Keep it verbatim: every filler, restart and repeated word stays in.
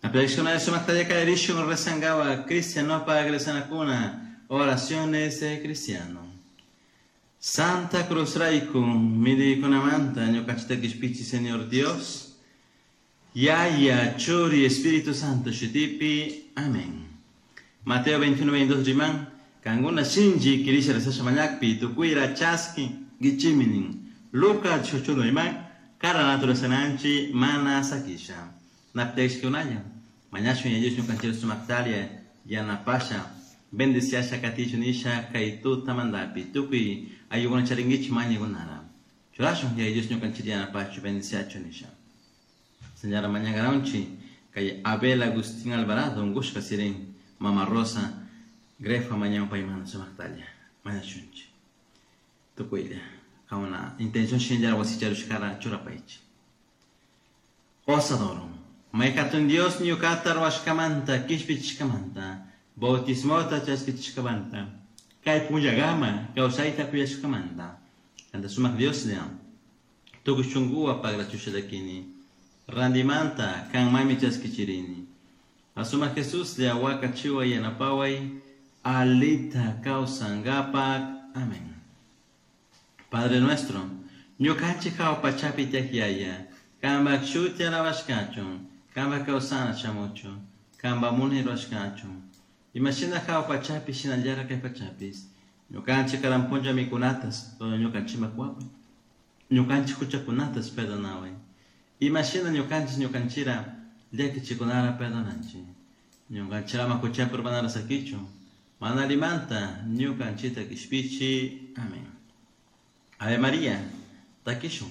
Napiyashkuna sumakta kallarishun rezankawa cristianopak rezanakuna oraciones de cristiano. Santa Cruz rayku millaykunamanta ñukanchikta kishpichi Señor Dios. Yaya, Churi, Espíritu Santo shutipi. Amén. Mateo veintiuno, veintidós riman, kankuna shinchi kirisha rezasha mañakpi, tukuyra chaskinguichimi nin. Lucas dieciocho riman, karanata rezananchi mana sakisha. Napiyashkunalla, mañashun Yaya Dios ñukanchik sumaktalla yanapasha, bendiciasha katichu nisha kay tutamantapi, tukuy ayllukuna charinkichik mañaykunara. Churashun Yaya Dios ñukanchik yanapachu, bendiciachu nisha. Señora mañangaronchi, kay Abel Agustín Alvarado, ungushka sirin, Mama Rosa, Grefa mañan paymanta sumaktalla, mañashunchi. Tukuylla, kauna intención shinllara wasicharushkara churapaychi. Osadoro, maykatun Dios ñukata ruwashkamanta, kishpichishkamanta, bautismota chaskichishkamanta, kay punllagama kawsayta kuyashkamanta, kanta sumak Dioslla, tukuy shunkuwa pagrachushalakini, randimanta kanmami chaskichirini. Asumak Jesuslla wakachiway yanapaway, alita kawsankapak. Amén. Padre nuestro, ñukanchik hawa pachapi tiyak Yaya, kanpak shuti alabashkachun, kanpak kawsana shamuchun, kanpak munay rurashkachun. Imashina hawa pachapi shinallara kay pachapis, ñukanchik karan punlla mikunatas, ñukanchikman kuwapay. Ñukanchik huchakunatas perdonaway. Imashina ñukanchik ñukanchira llakichikunara perdonanchik. Ñukanchik ama huchapi urmanara sakichun, mana allimanta ñukanchikta kishpichi. Amén. Ave María, takishun.